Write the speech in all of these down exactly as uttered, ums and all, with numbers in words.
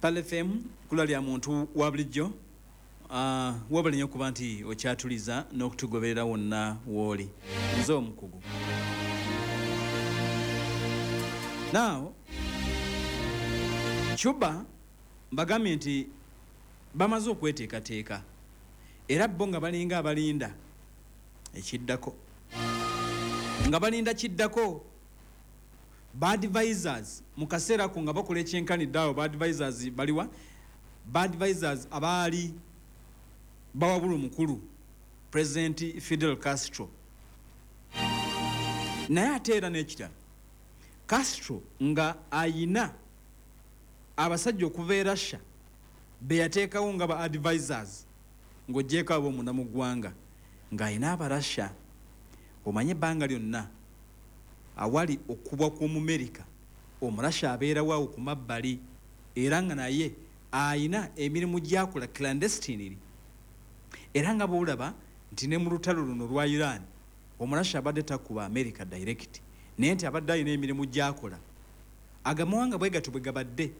Pearl F M kula lya muntu wa bulijjo. uh, wabali nnyo okuba nti okyatuliza n'okutugoberera wonna wooli. Nze omukugu. Now Cuba mbagambye nti bamaze okweteekateeka, era bo nga balinga abalinda ekiddako, nga balinda kiddako. Ba advisors mu kaseera ko nga bakola ekyenkanidde awo, ba advisors baliwa? Ba advisors abaali bawabula omukulu President Fidel Castro. Naye ate era n'ekirala, Castro nga ayina abasajja okuva e Russia be yateekawo nga ba advisors, ng'ogyeko ab'omunda mu ggwanga, ng'ayina Abarussia. Omanye ebbanga lyonna awali okubwa kw'Omumerika, Omurussia abeerawo awo ku mabbali, era nga naye ayina emirimu gyakola clandestinely. Era nga bwolaba nti ne mu lutalo luno lwa Iran, Omurussia abadde takuba America direct, naye nti abadde alina emirimu gyakola. Agamawanga bwe gatyo bwe gabadde.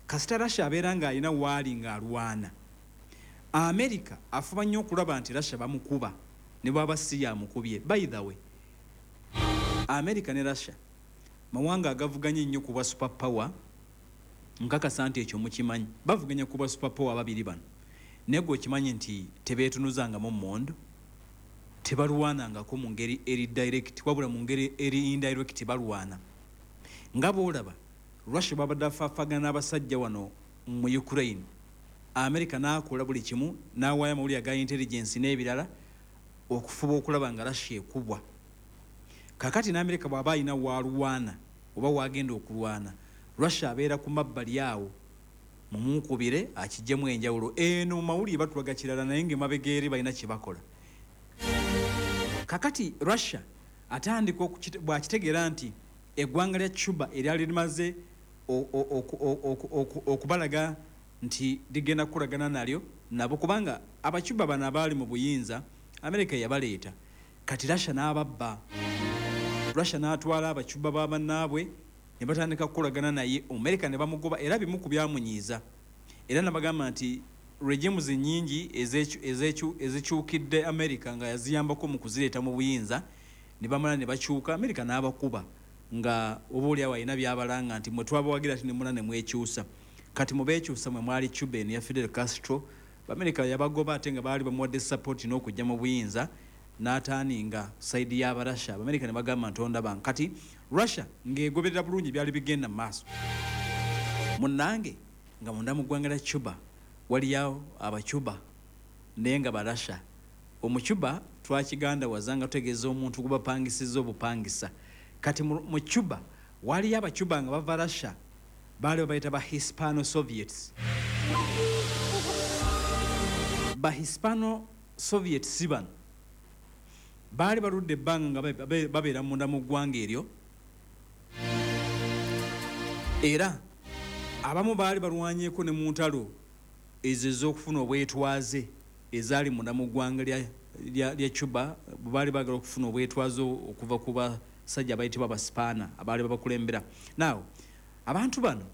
Kasita Russia abeera ng'alina waali ng'alwana America, afuba nnyo okulaba nti Russia bamukuba ne bwaba si yamukubye. By the way, America ne Russia mawanga agavuganya ennyo ku bwa super power. Nkakasa nti ekyo mukimanyi, bavuganya ku bwa super power ababiri bano. Naye gwe okimanyi nti tebeetunuzangamu mmundu, tebalwanangako mu ngeri eri direct, wabula mu ngeri eri indirect balwana. Nga bwolaba Russia babadde afaafagana n'abasajja wano mu Ukraine, America n'akola buli kimu n'awaayo amawulire aga intelligence n'ebirala okufuba okulaba nga Russia ekubwa. Kakati n'Amerika bw'aba alina waalwana oba wagenda okulwana, Russia abeera ku mabbali awo mumunkubire akijjemu enjawulo. Eno mu mawulire batulaga kirala, naye ng'emabega eri balina kye bakola. Kakati Russia atandika bw'akitegeera nti eggwanga lya Cuba eryali limaze okubalaga nti ligenda kukolagana nalyo nabo, kubanga Abacuba bano abaali mu buyinza Amerika yabaleeta. Kati Russia n'ababba, Russia n'atwala Abacuba ba bannaabwe ne batandika kukolagana naye, Omumerika ne bamugoba. Era bimu ku byamunyiiza, era nabagamba nti regimes nyingi ezikyukidde America nga yaziyambako mu kuzireeta mu buyinza, ne bamala ne bakyuka, America n'abakuba, nga oba oliawo alina byabalanga nti mwe twabawagira ti nemula ne mwekyusa. Kati mubeekyusa mwe mwali Cuba eno ya Fidel Castro. America yabagoba, ate nga baali bamuwadde support n'okujja mu buyinza, n'ataaninga side y'Abarussia. Abamerika ne bagamba nti ondaba. Kati Russia ng'egoberera bulungi byali bigenda mu maaso. Munnange, nga munda mu ggwanga lya Cuba waliyo Abacuba naye nga Barussia. Omucuba twakiganda wazanga tutegeeza omuntu gubapangisiza obupangisa. Kati mu Cuba waliyo Abacuba nga bava Russia, baali babayita ba Hispano Soviets. Ba Hispano Soviets bano baali baludde ebbanga nga babeera munda mu ggwanga eryo, era abamu baali balwanyeeko ne mu ntalo ezo ez'okufuna obwetwaze ezaali munda mu ggwanga lya Cuba. Bwe baali baagala okufuna obwetwaze okuva ku basajja abayitibwa Abasipaana abaali babakulembera. Naawe abantu bano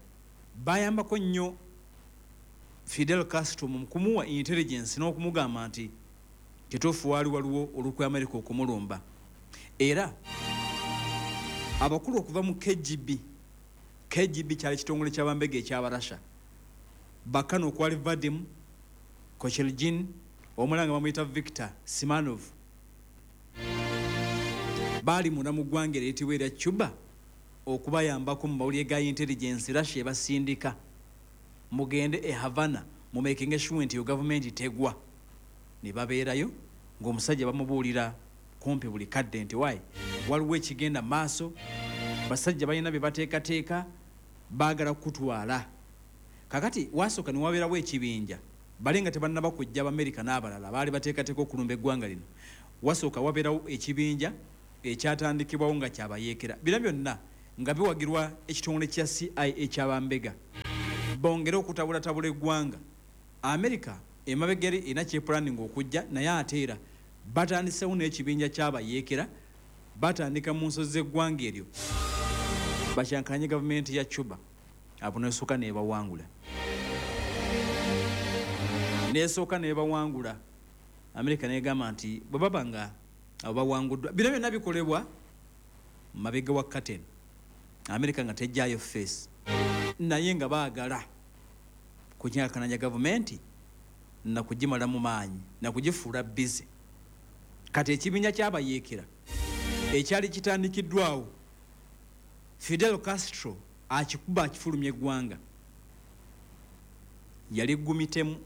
bayambako nnyo Fidel Castro mu kumuwa intelligence n'okumugamba nti kituufu waali waliwo olukwe Amerika okumulumba. Era abakulu okuva mu K G B, K G B kyali kitongole kyabambega ekyabarasha, bakano okwali Vadim Kochergin, omulala nga bamuyita Victor Simanov, baali munda mu ggwanga eriyitibwa erya Cuba okubayambako mu mawulire ga intelligence. Russia ebasindika, mugende e Havana mumakinge sure nti yo gavumenti tegwa. Ne babeerayo ng'omusajja bamubuulira kumpi buli kadde nti wayi waliwo ekigenda maaso, basajja balina bye bateekateeka, baagala kutwala. Kakati wasooka ne wabeerawo ekibinja, bali nga tebannaba kujja Abamerika n'abalala baali bateekateeka okulumba eggwanga lino. Wasooka wabeerawo ekibinja ekyatandikibwawo nga kyabayeekera, bino byonna nga biwagirwa ekitongole kya C I A ekyabambega, bongere okutabulatabula eggwanga. Amerika emabega eri erina kyepulaninga okujja, naye ate era batandisewo n'ekibinja kyabayeekera, batandika mu nsozi z'eggwanga eryo bakyankanye gavumenti ya Cuba. Abo nesooka nebawangula. Nesooka nebawangula. Amerika negamba nti bwe baba nga abo bawanguddwa, bino byonna bikolebwa mabega wa curtain, Amerika nga tejjayo face, naye nga baagala kunyakananya gavumenti nakugimala mu maanyi nakugifuula busy. Kati ekibinja kyabayeekera ekyali kitandikiddwawo, Fidel Castro akikuba akifulumya eggwanga. Yali gumitemu,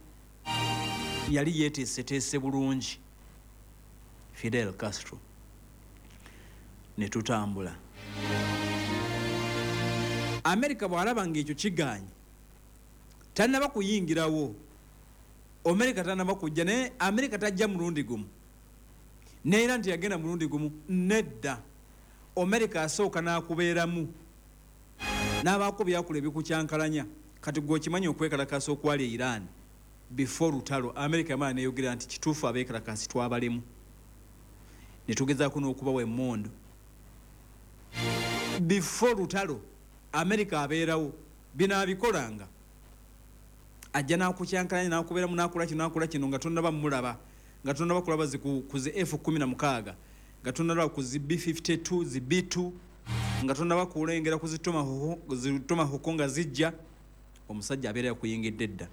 yali yeeteeseteese bulungi Fidel Castro. Ne tutambula. Amerika bw'alaba ng'ekyo kigaanye, tannaba kuyingirawo, Amerika tannaba kujja, naye Amerika tajja mulundi gumu, neera nti yagenda mulundi gumu, nedda. Amerika asooka n'akubeeramu n'abaako byakola ebikukyankalanya. Kati gwe okimanyi okwekalakaasa okwali e Iran before lutalo, Amerika yamala neyogera nti kituufu abeekalakaasi twabalemu, ne tugezaako n'okubawa emmundu. Before lutalo Amerika abeerawo, bino abikolanga, ajja n'akukyankalanya n'akubeeramu n'akola kino n'akola kino nga tonnaba mulaba, nga tonnaba kulaba zi ku zi F kumi na mukaaga, nga tonnalaba ku zi B fifty two, zi B two, nga tonnaba kulengera ku zi Tomahawk nga zijja. Omusajja abeera yakuyingidde dda.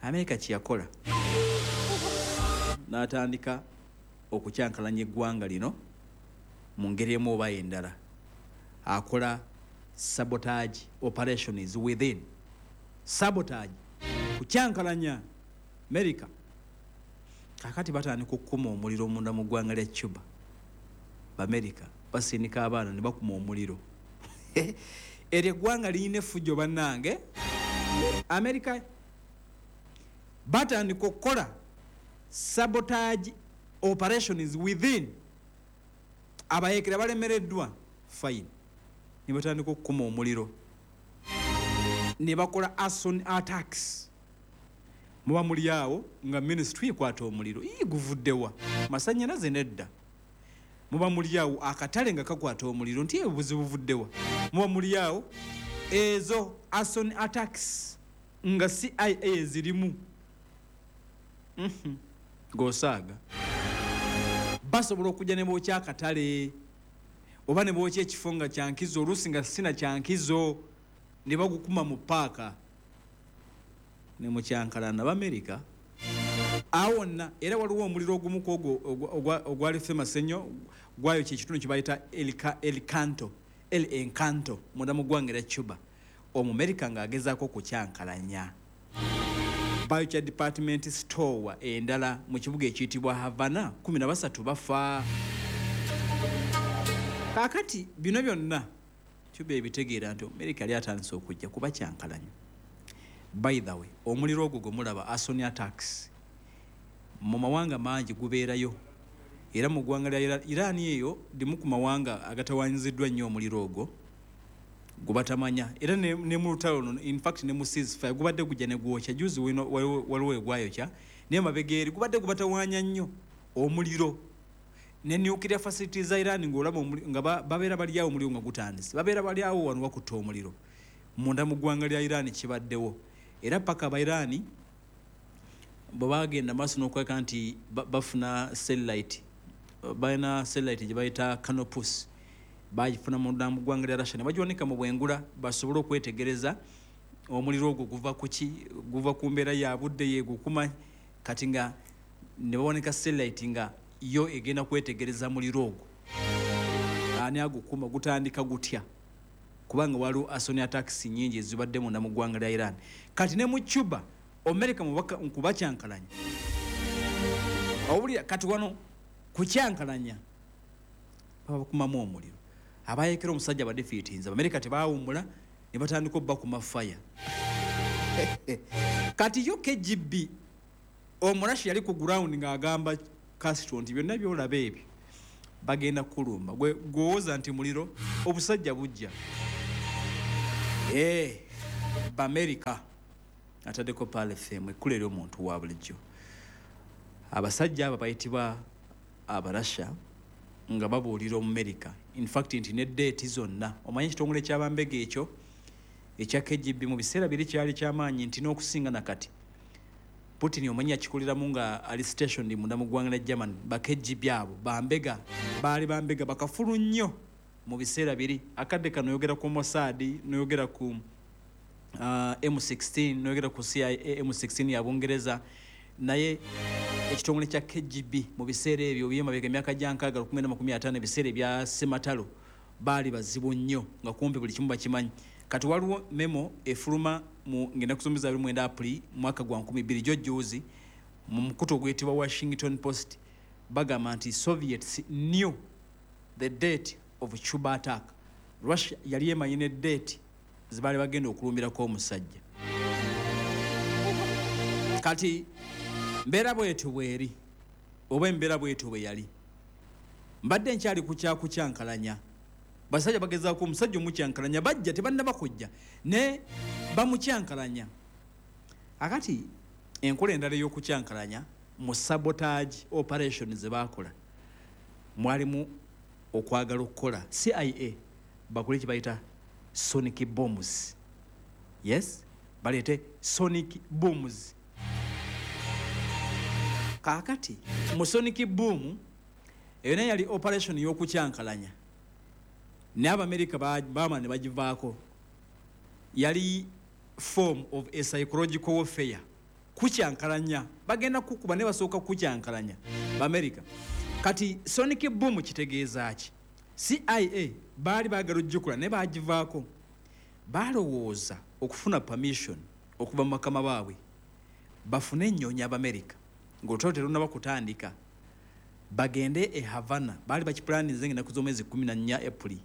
Amerika kye yakola, n'atandika okukyankalanya eggwanga lino mu ngeri emu oba endala. Akola sabotage operations within, sabotage, kukyankalanya Amerika. Kaakati batandika okukuma omuliro munda mu ggwanga lya Cuba. B'Amerika basindika abaana ne bakuma omuliro. Eryo eggwanga lirina effujjo bannange. Amerika batandika okukola sabotage operations within. Abayeekera balemereddwa, fine, ne batandika okukuma omuliro, ne bakola arson attacks. Muba muli awo nga ministry ekwata omuliro, ii guvuddewa, masannyalaze nedda. Muba muli awo akatale nga kakwata omuliro, nti obuzibu buvuddewa. Muba muli awo ezo arson attacks nga C I A zirimu. Ng'osaaga basobola okujja ne bookya akatale oba ne bookya ekifo nga kyankizo, oluusi nga sina kyankizo, ne bagukuma mu paaka ne mukyankalana. B'Amerika awo wonna. Era waliwo omuliro ogumu ku ogwo ogwali famous ennyo, gwayokya ekitundu kye bayita El Canto, El Encanto, munda mu ggwanga erya Cuba. Omumerika ng'agezaako okukyankalanya, bayokya department store endala mu kibuga ekiyitibwa Havana, kumi na basatu bafa. Kaakati bino byonna Cuba ebitegeera nti Amerika yali atandise okujja kuba kyankalanya. By the way, omuliro ogwo gwe mulaba, arson attacks, mu mawanga mangi gubeerayo. Era mu ggwanga lya Iran eyo limu ku mawanga agatawaanyiziddwa nnyo omuliro ogwo gwe batamanya. Era ne, ne mu lutalo luno, in fact ne mu ceasefire gubadde gujja ne gwokya. Juzi waliwo egwayokya, naye mabega eri gubadde gubatawaanya nnyo omuliro. Ne nuclear facilities za Iran ng'olaba nga babeera bali awo omuliro nga gutandise, babeera bali awo wano bakutta omuliro. Munda mu ggwanga lya Iran kibaddewo. Era paka aba Iran bwe bagenda maaso n'okweka nti bafuna satellite, balina satellite gye bayita Canopus, bagifuna munda mu ggwanga lya Russia ne bagiwanika mu bwengula basobole okwetegereza omuliro ogwo guva ku ki, guva ku mbeera ya budde yegukuma. Kati nga ne bawanika satellite nga yo egenda kwetegereza muliro ogwo, ani agukuma, gutandika gutya, kubanga waliwo arson attacks nnyingi ezibadde munda mu ggwanga lya Iran. Kati ne mu Cuba Amerika kubakyankalanya, owulira kati wano kukyankalanya babakumamu omuliro. Abayeekera omusajja badefeatinze, Abamerika tebaawummula ne batandika obbakuma fire. Kati yo K G B Omurashi yali ku ground ng'agamba Castro nti byonna by'olaba ebyo bagenda kulumba, gwe gw'owoza nti muliro, obusajja bujja. Eh, B'Amerika ataddeko Pearl F M ekkula eri omuntu wa bulijjo. Abasajja abo bayitibwa Abarasha nga babuulira Omumerika, in fact nti ne deeti zonna. Omanyi ekitongole ky'abambega ekyo ekya K G B mu biseera biri kyali kyamaanyi nti n'okusinga na kati. Putin omanyi yakikoleramu nga ali stationed munda mu ggwanga lya Germany. Ba K G B abo bambega, baali bambega bakafulu nnyo mu biseera biri. Akadde kano oyogera ku Mossad, noyogera ku uh, M sixteen, noyogera ku C I A. M sixteen ya Bungereza, naye ekitongole kya K G B mu biseera ebyo byemabega, emyaka gya nkaaga, lukumi na makumi ataano, ebiseera ebya sematalo, baali bazibu nnyo nga kumpi buli kimu bakimanyi. Kati waliwo memo efuluma mu ngenda kusomeza abiri mu mwenda Apuli mwaka gwa nkumi bbiri gyo juzi mu mukutu oguyitibwa Washington Post. Bagamba nti Soviets knew the date of Cuba attack. Russia yali emanyi ne date zebaali bagenda okulumbirako omusajja. Kati mbeera bwetyo bweri, oba embeera bwetyo bwe yali. Mbadde nkyali ku kyakukyankalanya. Basajja bagezaako omusajja omukyankalanya, bajja tebannaba kujja ne bamukyankalanya. Akati enkola endala ey'okukyankalanya mu sabotage operation ze baakola mwalimu okwagala okukola C I A bakole kye bayita sonic bombs. Yes, baleete sonic booms. Kaakati mu sonic boom eyo naye yali operation y'okukyankalanya, naye Abamerika baama ne bagivaako. Yali form of a psychological warfare, kukyankalanya. Bagenda kukuba naye basooka kukyankalanya Bamerika. Kati sonic boom kitegeeza ki? C I A baali baagala ojjukula naye bagivaako. Balowooza okufuna permission okuva mu bakama baabwe bafune ennyonyi, Abamerika, ng'olutalo terunaba kutandika, bagende e Havana. Baali bakipulaninze ng'ennaku z'omwezi kumi na nnya Apuli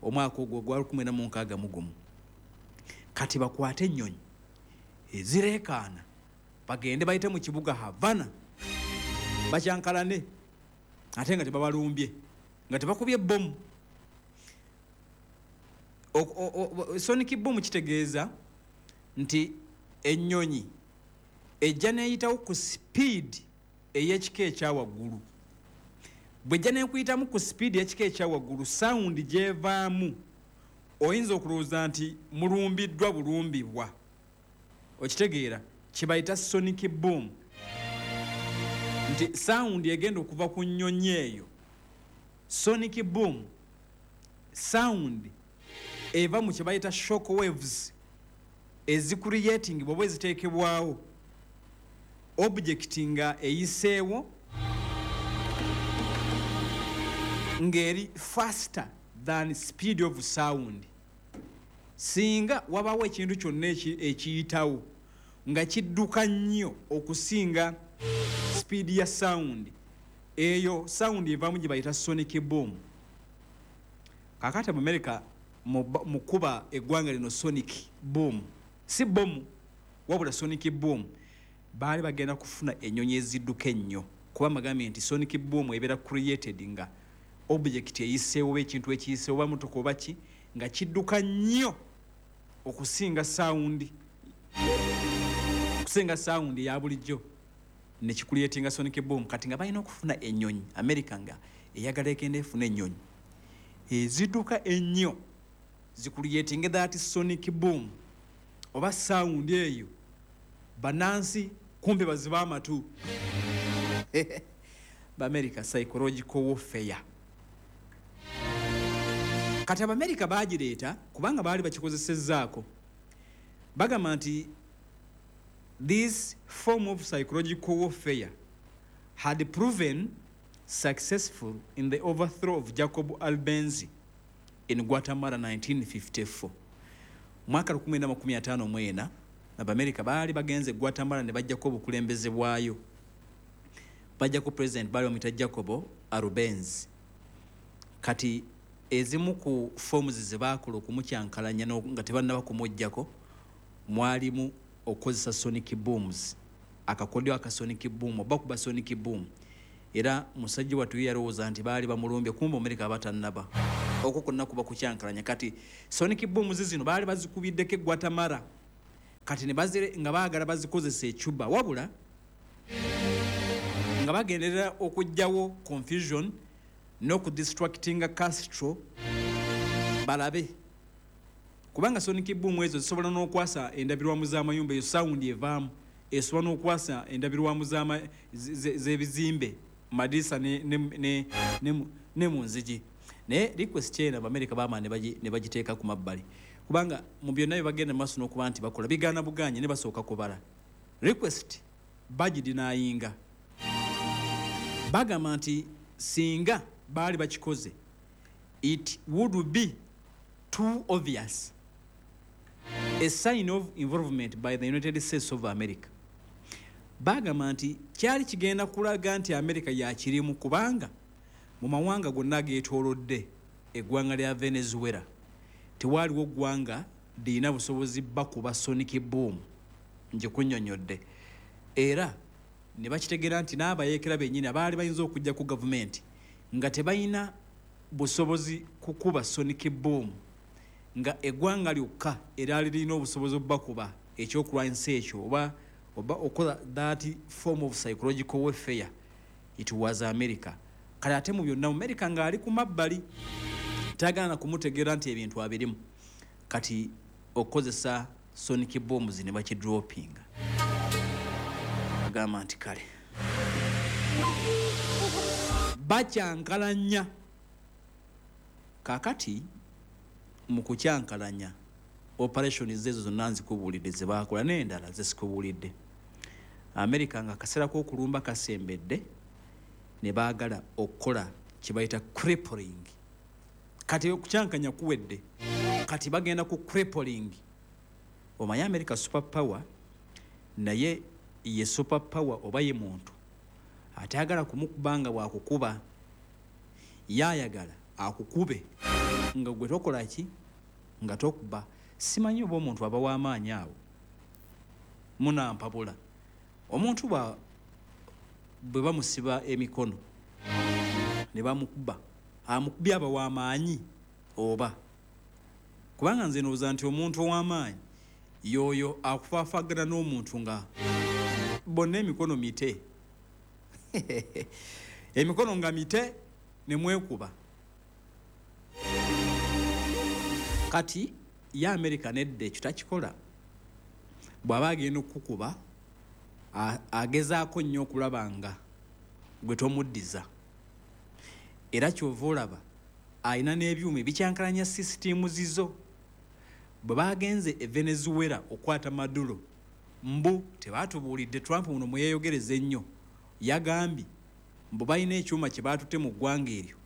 omwaka ogwo gwa lukumi mu mwenda mu nkaaga mu gumu. Kati bakwate ennyonyi ezireekaana bagende bayite mu kibuga Havana bakyankalane, ate nga tebabalumbye, nga tebakubye bomu. Sonic boom kitegeeza nti ennyonyi ejja neeyitawo ku speed ey'ekika ekyawaggulu. Bw'ejja nekuyitamu ku speed ey'ekika ekyawaggulu, sound gyevaamu oyinza okulowooza nti mulumbiddwa bulumbibwa. Okitegeera? Kibayita sonic boom, nti sound egenda okuva ku nnyonyi eyo, sonic boom sound eva mu kyebayita shock waves ezicreating bwoba eziteekebwawo object nga eyiseewo ng'eri faster than speed of sound. Singa wabawo ekintu kyonna ekiyitawo nga kidduka nnyo okusinga speed ya sound, eyo sound evaamu gye bayita sonic boom. Kakati Abamerika mu kuba eggwanga lino sonic boom, si bomu wabula sonic boom, baali bagenda kufuna ennyonyi ezidduka ennyo, kuba magambye nti sonic boom ebeera created nga object eyiseewo oba ekintu ekiyiseewo oba motoka oba ki nga kidduka nnyo okusinga sound, okusinga sound eya bulijjo, nekicreatinga sonic boom. Kati nga balina okufuna ennyonyi, America nga eyagala egenda efuna ennyonyi ezidduka ennyo zicreatinge that sonic boom oba sound eyo, bannansi kumbe baziba amatu. Bamerica, psychological warfare. Kati Abamerika bagireeta kubanga baali bakikozesezzaako. Bagamba nti this form of psychological warfare had proven successful in the overthrow of Jacob Arbenz in Guatemala nineteen fifty-four. Mwaka nineteen fifty-four Abamerika baali bagenze Guatemala ne bajjako obukulembeze bwayo, bajjako president baali bamuyita Jacobo Arbenz. Kati ezimu ku forms ze baakola okumukyankalanya nga tebannaba kumuggyako mwalimu okukozesa sonic booms, akakodyo aka sonic boom oba kuba sonic boom. Era musajja wattu ye yalowooza nti baali bamulumbye, kumbe Omerika abatannaba. Okwo kwonna kuba kukyankalanya. Kati sonic booms zino baali bazikubiddeko e Guatemala, kati ne bazire nga baagala bazikozesa e Cuba, wabula nga bagenderera okuggyawo confusion n'okudistractinga Castro balabe, kubanga sonic boom ezo zisobola n'okwasa endabirwamu z'amayumba. Eyo sound evaamu Esobola n'okwasa endabirwamu z'ebizimbe, madirisa ne, ne, ne, ne, ne mu nzigi. Naye request eno Abamerika baama ne bagiteeka ku mabbali, kubanga mu byonna bye bagenda mu maaso n'okuba nti bakola bigaana buganye ne basooka kubala. Request bagidenyinga, bagamba nti singa baali bakikoze it would be too obvious a sign of involvement by the United States of America. Bagamba nti kyali kigenda kulaga nti America yakirimu, kubanga mu mawanga gonna ageetoolodde eggwanga lya Venezuela tewaaliwo ggwanga lirina busobozi bakuba sonic boom ngikunnyonnyodde. Era ne bakitegeera nti n'abayeekera bennyini abaali bayinza okujja ku gavumenti nga tebalina busobozi kukuba sonic boom, nga eggwanga lyokka eryali lirina obusobozi obbakuba ekyokulwanyisa ekyo oba oba okola that form of psychological warfare, it was America. Kale ate mu byonna America ng'ali ku mabbali tagaana kumutegeera nti ebintu abirimu. Kati okukozesa sonic bombs ne bakidropinga, agamba nti kale bakyankalanya. Kaakati mu kukyankalanya operation ezo zonna nzikubuulidde ze baakola n'endala ze sikubuulidde. America nga akaseera k'okulumba kasembedde ne baagala okukola kye bayita crippling. Kati okukyankanya kuwedde, kati bagenda ku crippling. Omanyi America super power, naye ye super power oba ye muntu atayagala kumukuba nga bw'akukuba, yaayagala akukube nga gwe tokola ki, nga tokuba. Simanyi oba omuntu aba w'amaanyi awo munampabula. Omuntu bwe bamusiba emikono ne bamukuba, amukubye aba w'amaanyi oba? Kubanga nze ndowooza nti omuntu ow'amaanyi y'oyo akufaafagana n'omuntu nga bonna emikono mite emikono nga mite ne mwekuba. Kati ye America nedda ekyo takikola. Bw'aba agenda okukuba agezaako nnyo okulaba nga gwe tomuddiza. Era ky'ova olaba alina n'ebyuma ebikyankalanya sisitiimu zizo. Bwe baagenze e Venezuela okwata Maduro, mbu tebaatubuulidde, Trump muno mwe yeeyogereza ennyo, yagambye mbu balina ekyuma kye baatutte mu ggwanga eryo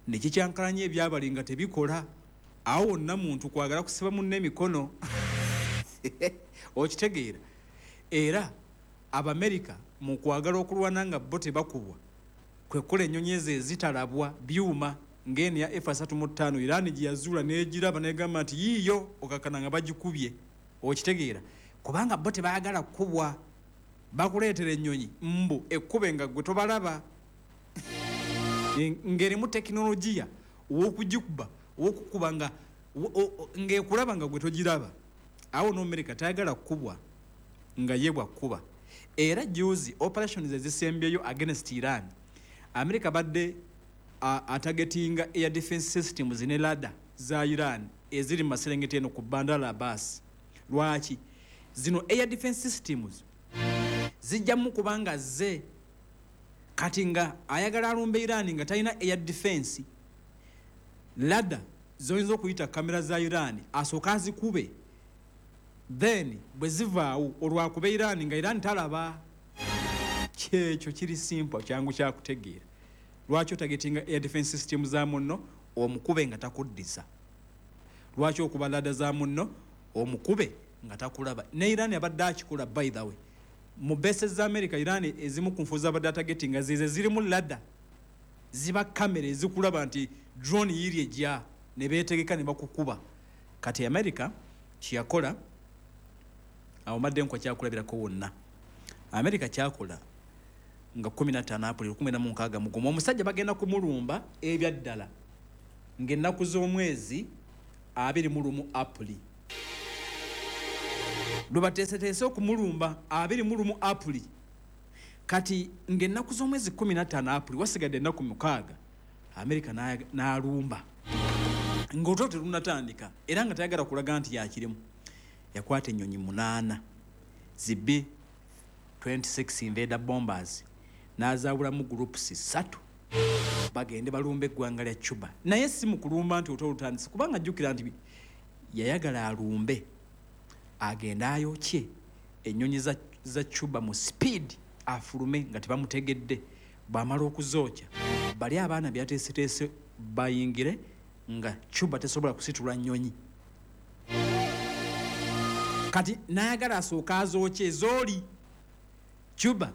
ne kikyankalanya ebyabali nga tebikola. Awo wonna muntu kwagala kusiba munne emikono okitegeera. Era Abamerika mu kwagala okulwana nga bo tebakubwa, kwe kukola ennyonyi ezo ezitalabwa byuma ng'eno ya F asatu mu ttaano Iran gye yazuula n'egiraba n'egamba nti yiiyo, okakkana nga bagikubye. Okitegeera, kubanga bo tebaagala kkubwa, bakuleetera ennyonyi mbu ekkube nga gwe tobalaba, ng'erimu tekinologiya ow'okugikuba ow'okukuba nga ng'ekulaba nga gwe togiraba. Awo n'Amerika tayagala kkubwa nga ye bwakkuba. Era juzi operations ezisembyeyo against Iran, America badde atargetinga air defense systems ne radar za Iran eziri mu maserengeta eno ku Bandar Abbas. Lwaki? Zino air defense systems zijjamu kubanga ze kati nga ayagala alumbe Iran nga talina air defense, radar zoyinza okuyita kamera za Iran asooka azikube, then bwe zivaawo olwakuba Iran nga Iran talaba. Kyekyo kiri simple, kyangu kyakutegeera. Lwaki otargetinga air defense system za munno omukube nga takuddisa? Lwaki okuba radar za munno omukube nga takulaba? Ne Iran abadde akikola, by the way. Mu bases za America, Iran ezimu ku nfu z'abadde atargetinga zize zirimu radar, ziba kamera ezikulaba nti drone yiri ejja, ne beetegeka ne bakukuba. Kati America kyeyakola, awo mbadde nkwa kyakulabirako wonna. America kyakola nga kkumi na ttaano April lukumi na mukaaga mu gumu, omusajja bagenda kumulumba ebyaddala ng'ennaku z'omwezi abiri mu lumu April. Lwe bateeseteese okumulumba abiri mu lumu April. Kati ng'ennaku z'omwezi kkumi na ttaano April, wasigadde ennaku mukaaga, America n'alumba ng'olutalo terunnatandika, era nga tayagala kulaga nti yakirimu. Yakwata ennyonyi munaana zi B twenty-six invader bombers n'azaawulamu groups ssatu bagende balumbe eggwanga lya Cuba. Naye si mu kulumba nti olutalo lutandise, kubanga jjukira nti yayagala alumbe agende ayokye ennyonyi za, za Cuba mu speed, afulume nga tebamutegedde. Bw'amala okuzookya bali abaana byateeseteese bayingire nga Cuba tesobola kusitula nnyonyi. Kati n'ayagala asooke azookye ezooli Cuba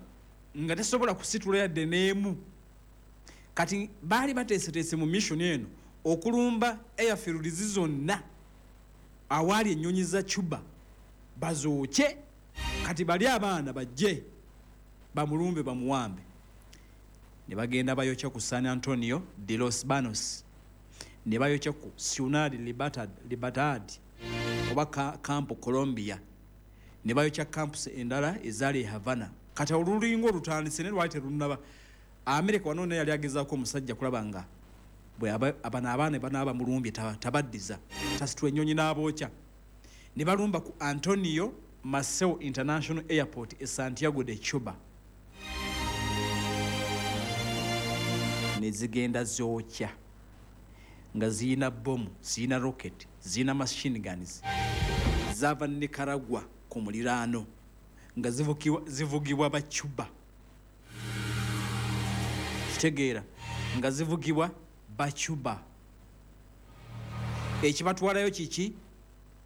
nga tesobola kusitula yadde n'emu. Kati baali bateeseteese mu mission eno okulumba airfields zonna awaali ennyonyi za Cuba bazookye, kati bali abaana bajje bamulumbe bamuwambe. Ne bagenda bayokya ku San Antonio de los Banos, ne bayokya ku Ciudad Libertad, Libertad oba Campo Colombia, ne bayokya campus endala ezaali e Havana. Kati olulinga olutandise ne lwali terunnaba. Amerika wano naye yali agezaako omusajja kulaba nga bwe abano abaana banaaba mulumbye tabaddiza, tasitula ennyonyi n'abookya. Ne balumba ku Antonio Maceo International Airport e Santiago de Cuba, ne zigenda zookya nga ziyina bomu, ziyina rocket, ziyina machine guns. Zaava Nicaragua ku muliraano nga zivugibwa ba Cuba, kitegeera, nga zivugibwa ba Cuba. Ekibatwalayo kiki?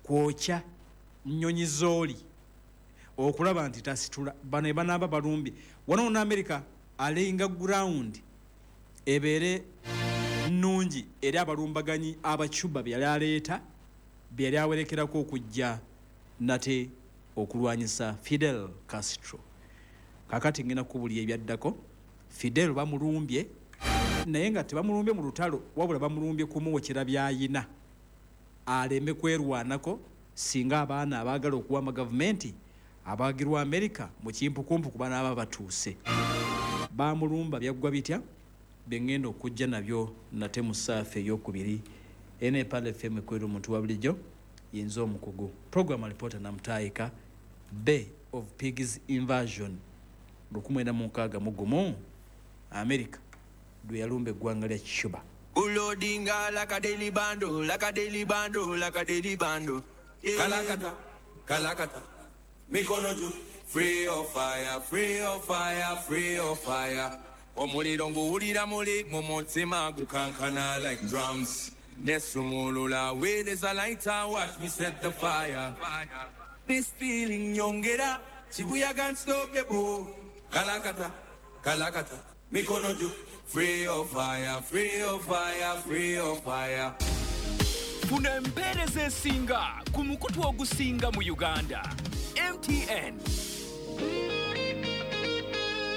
Kwokya nnyonyi zooli okulaba nti tasitula. Bano ebanaaba balumbye wano ne America alayinga ground ebeere nnungi eri abalumbaganyi abacuba bye yali aleeta, bye yali awerekerako okujja nate okulwanyisa Fidel Castro. Kakati ngenda kubulya ebyaddako. Fidel bamulumbye, naye nga tebamulumbye mu lutalo, wabula bamulumbye kumuwokera byayina aleme kwerwanako singa abaana abaagala okuwamba gavumenti abaagirwa Amerika mu kimpukumpu kuba n'aba batuuse. Bamulumba byaggwa bitya? Bye ngenda okujja nabyo nate mu ssaafa ey'okubiri. Eno Empala F M ekwera omuntu wa bulijjo, yinza omukugu. Program reporter Namutaayika, Bay of Pigs Invasion lukumi mwenda mu nkaaga mu gumu, Amerika lwe yalumba eggwanga lya Cuba. Ulodinga like a daily bando, like a daily bando, like a daily bando. Kalakata, kalakata, mikono juu. Free of fire, free of fire, free of fire. Omuliro nguwulira muli mu mutima gukankana like drums. Nesumulula with is a lighter, watch me set the fire. This feeling nyongera, chibuyaga unstoppable. Kalakata, kalakata, mikono juu. Free of fire, free of fire, free of fire. Funa empeereza esinga ku mukutu ogusinga mu Uganda. M T N.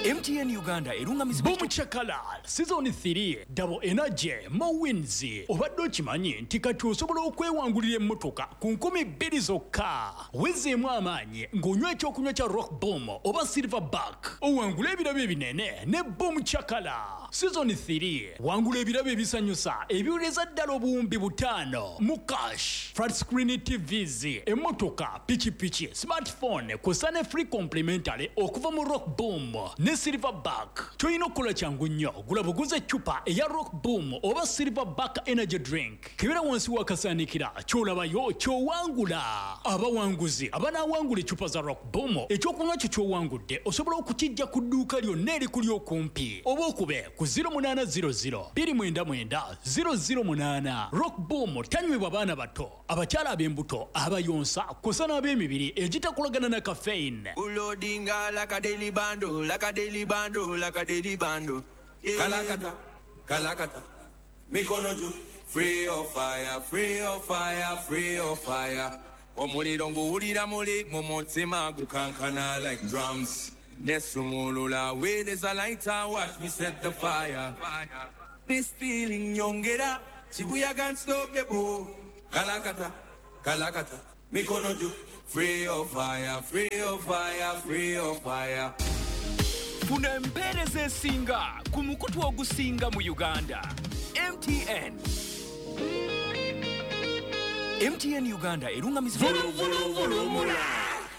M T N Uganda erungamizibwa. Boom Chakala Season three Double Energy Mo Wins. Obadde okimanyi nti kati osobola okwewangulira emmotoka ku nkumi bbiri zokka. Wezeemu amaanyi ng'onywa ekyokunywa kya Rock Boom oba Silverback, owangule ebirabo ebinene ne Boom Chakala Season three. Wangula ebirabo ebisanyusa ebiwereza ddala obuwumbi butaano mu cash, flat screen T Vs, emmotoka, pikipiki, smartphone kw'ossa ne free complimentary okuva mu Rock Boom ne Silverback. Ky'olina okukola kyangu nnyo, gula buguze eccupa eya Rock Boom oba Silverback Energy Drink, kebera wansi w'akasaanikira, ky'olabayo ky'owangula. Abawanguzi abanaawangula eccupa za Rock Boom, ekyokunywa kyo ky'owangudde osobola okukijja ku dduuka lyonna erikuli okumpi oba okube ku zero munaana zero zero bbiri mwenda mwenda zero zero munaana. Rock Boom tanywebwa baana bato, abakyala ab'embuto, abayonsa kw'ossa n'ab'emibiri egitakolagana na caffeine. Ulodinga like a daily bando, like a daily bando, like a daily bando. Kalakata, kalakata, mikono juu. Free of fire, free of fire, free of fire. Omuliro nguwulira muli mu mutima gukankana like drums. Nesumulula with is a lighter, watch me set the fire. This feeling nyongera, chibuyaga unstoppable. Kalakata, kalakata, mikono juu. Free of fire, free of fire, free of fire. Funa empeereza esinga ku mukutu ogusinga mu Uganda. M T N. M T N Uganda erungamizibwa. Vulumula,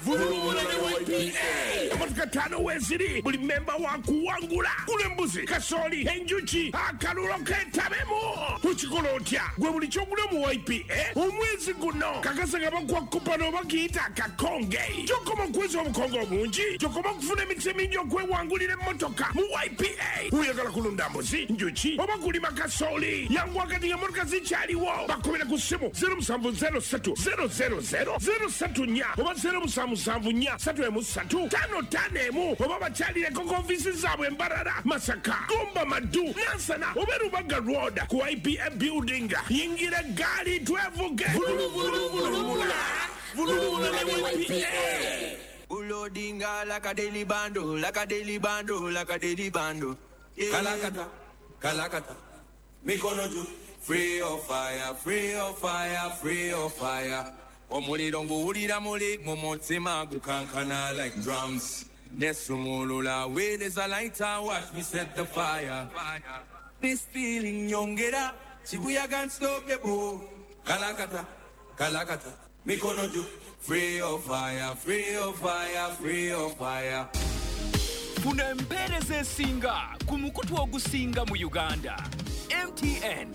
vulumula ne Y P A. Emmotoka ttaano weeziri, buli memba wa kuwangula. Gula embuzi, kasooli, enjuki, akalulo keetabemu. Okikola otya? Gwe buli ky'ogula mu Y P A omwezi guno, kakasa nga bakuwa kupano oba kiyita akakonge. Gy'okoma okuweza obukonge obungi, gy'okoma okufuna emikisa emingi okwewangulira emmotoka mu Y P A. Oyagala kulunda mbuzi, njuki oba kulima kasooli, yanguwa kati ng'emmotoka zikyaliwo. Bakubira ku ssimu zero seven zero three zero zero zero zero three four oba zero seven seven four three three five five one, oba bakyalireko ku ofiisi zaabwe Mbarara, Masaka, Gomba, Maddu, Nansana oba Rubaga Road ku Y P A building. Yingira eggaali twevuge. Vuluvuluvuluvula, vuluvula ne Y P A. Ulodinga like a daily bando, like a daily bando, like a daily bando. Yeah. Kalakata, kalakata, mikono juu, free of fire, free of fire, free of fire. Omuliro nguwulira muli mu mutima gukankana like drums. Nesumulula with is a lighter, watch me set the fire. This feeling nyongera, chibuyaga unstoppable. Kalakata, kalakata, mikono juu, free of fire, free of fire, free of fire. Funa empeereza esinga ku mukutu ogusinga mu Uganda, M T N.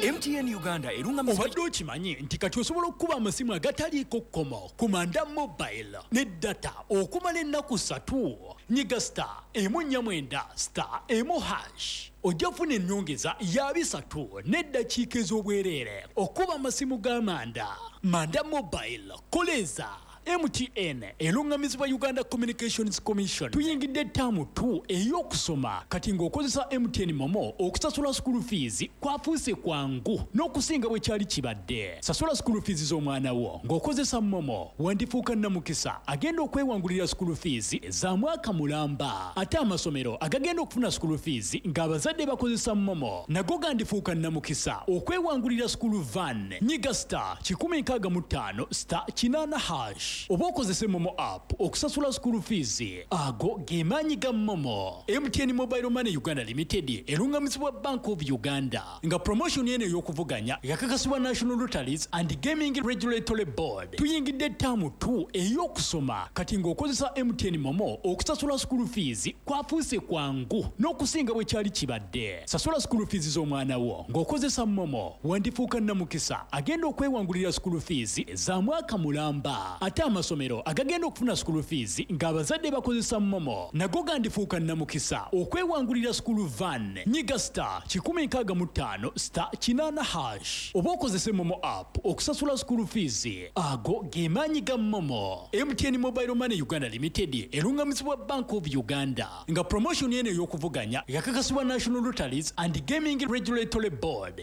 M T N Uganda erungamizibwa. Obadde okimanyi nti kati osobola okukuba amasimu agataliiko kkomo ku Manda Mobile ne data okumala ennaku ssatu? Nyiga star emu nnya mwenda star emu hash, ojja kufuna ennyongeza ya bisatu n'eddakiika ez'obwereere okuba amasimu ga Manda. Manda Mobile, koleza. M T N erungamizibwa Uganda Communications Commission. Tuyingidde term two ey'okusoma. Kati ng'okozesa M T N MoMo okusasula school fees kwafuuse kwangu n'okusinga bwe kyali kibadde. Sasula school fees z'omwana wo ng'okozesa MoMo, wandifuuka namukisa agenda okwewangulira school fees za mwaka mulamba. Ate amasomero agagenda okufuna school fees ng'abazadde bakozesa MoMo nago gandifuuka namukisa okwewangulira school van. Nyiga star kikumi nkaaga mu ttaano star kinaana hash oba okozese MoMo app okusasula school fees. Ago ge maanyi ga MoMo. M T N Mobile Money Uganda Limited erungamizibwa Bank of Uganda, nga promotion eno ey'okuvuganya yakakasibwa National Lotteries and Gaming Regulatory Board. Tuyingidde term two ey'okusoma. Kati ng'okozesa M T N MoMo okusasula school fees kwafuuse kwangu n'okusinga bwe kyali kibadde. Sasula school fees z'omwana wo ng'okozesa MoMo, wandifuuka namukisa agenda okwewangulira school fees za mwaka mulamba. Ate amasomero agagenda okufuna school fees ng'abazadde bakozesa MoMo nago gandifuuka namukisa okwewangulira school van. Nyiga star kikumi nkaaga mu ttaano star kinaana hash oba okozese MoMo app okusasula school fees. Ago ge maanyi ga MoMo. M T N Mobile Money Uganda Limited erungamizibwa Bank of Uganda, nga promotion eno ey'okuvuganya yakakasibwa National Lotteries and Gaming Regulatory Board.